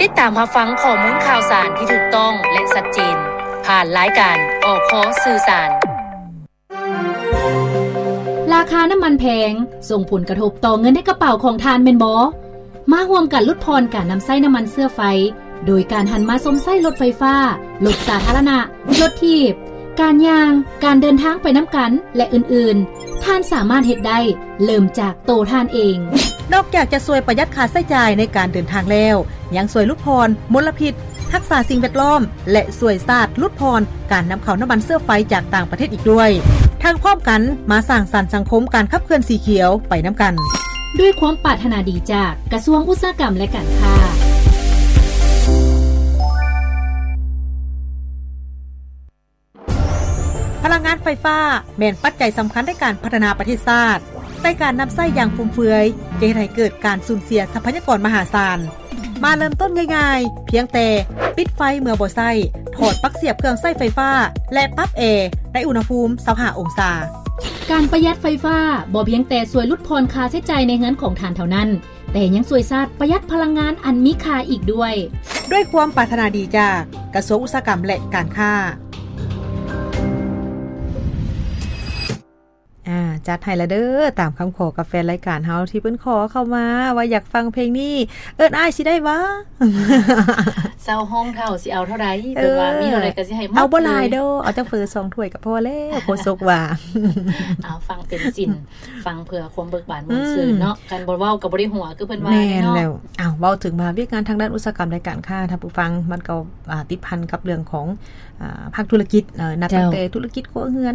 ຕິດຕາມຮັບຟັງຂໍ້ມູນຂ່າວສານທີ່ຖືກຕ້ອງ ແລະ ຊັດເຈນ ຜ່ານລາຍການ ອຄ ສື່ສານ. ລາຄານ້ຳມັນແພງ ສົ່ງຜົນກະທົບຕໍ່ເງິນໃນກະເປົາຂອງທ່ານແມ່ນບໍ່? ມາຮ່ວມກັນຫຼຸດຜ່ອນການນຳໃຊ້ນ້ຳມັນເຊື້ອໄຟ ໂດຍການຫັນມາຊົມໃຊ້ລົດໄຟຟ້າ, ລົດສາທາລະນະ, ລົດຖີບ, ການຍ່າງ, ການເດີນທາງໄປນຳກັນ ແລະ ອື່ນໆ. ທ່ານສາມາດເຮັດໄດ້ ເລີ່ມຈາກໂຕທ່ານເອງ. ນອກຈາກຈະຊ່ວຍປະຢັດຄ່າໃຊ້ຈ່າຍໃນການເດີນທາງແລ້ວ, ຍັງຊ່ວຍຫຼຸດຜ່ອນມົນລະພິດ, ຮັກສາສິ່ງແວດລ້ອມ ແລະ ຊ່ວຍຊາດຫຼຸດຜ່ອນການນຳເຂົ້ານ້ຳມັນເຊື້ອໄຟຈາກຕ່າງປະເທດອີກດ້ວຍ. ທັງພ້ອມກັນມາສ້າງສັນສັງຄົມການຂັບເຄື່ອນສີຂຽວໄປນຳກັນ. ດ້ວຍຄວາມປາດຖະໜາດີຈາກກະຊວງອຸດສາຫະກຳ ແລະ ການຄ້າ. ພະລັງງານໄຟຟ້າແມ່ນປັດໄຈສຳຄັນໃນການພັດທະນາປະເທດຊາດ, ແຕ່ການນຳໃຊ້ຢ່າງຟຸມເຟືອຍຈະເຮັດໃຫ້ເກີດການສູນເສຍຊັບພະຍາກອນມະຫາສານ. ມາເລີ່ມຕົ້ນງ່າຍໆ, ພຽງແຕ່ປິດໄຟເມື່ອບໍ່ໃຊ້, ຖອດປັກສຽບເຄື່ອງໃຊ້ໄຟຟ້າ ແລະ ປັບແອໃນອຸນຫະພູມຊາວຫ້າອົງສາ. ການປະຢັດໄຟຟ້າບໍ່ພຽງແຕ່ຊ່ວຍຫຼຸດຜ່ອນຄ່າໃຊ້ຈ່າຍໃນເຮືອນຂອງທ່ານເທົ່ານັ້ນ, ແຕ່ຍັງຊ່ວຍຊາດປະຢັດພະລັງງານອັນມີຄ່າອີກດ້ວຍ. ດ້ວຍຄວາມປາດຖະໜາດີຈາກກະຊວງອຸດສາຫະກຳ ແລະ ການຄ້າ. ອາ ຈັດໃຫ້ລະເດີ ຕາມຄຳຂໍກັບແຟນລາຍການເຮົາທີ່ເພິ່ນຂໍເຂົ້າມາວ່າຢາກຟັງເພງນີ້ ເອີ້ນອ້າຍຊິໄດ້ຫວາ? ເຊົາຫ້ອງເຖົ້າຊິເອົາເທົ່າໃດ? ເອີ ເພິ່ນວ່າມີເທົ່າໃດກໍຊິໃຫ້ໝົດ. ເອົາບໍ່ຫຼາຍເດີ ເອົາຈັກເຝີສອງຖ້ວຍກໍພໍແລ້ວ ໂຄສົກວ່າ. ເອົາ ຟັງເຕັມສິນ ຟັງເພື່ອຄວາມເບີກບານມ່ວນຊື່ນເນາະ. ອືມ ຄັນບໍ່ເວົ້າກໍບໍ່ໄດ້ຫົວ ຄືເພິ່ນວ່າ. ແມ່ນແລ້ວ. ເອົາ ເວົ້າເຖິງມາວຽກງານທາງດ້ານອຸດສາຫະກຳ ລາຍການຄ້າ ທ່ານຜູ້ຟັງ ມັນກໍ ອ່າ ຕິດພັນກັບເລື່ອງຂອງ ອ່າ ພາກທຸລະກິດ ເອີ ນັບຕັ້ງແຕ່ທຸລະກິດຄົວເຮືອນ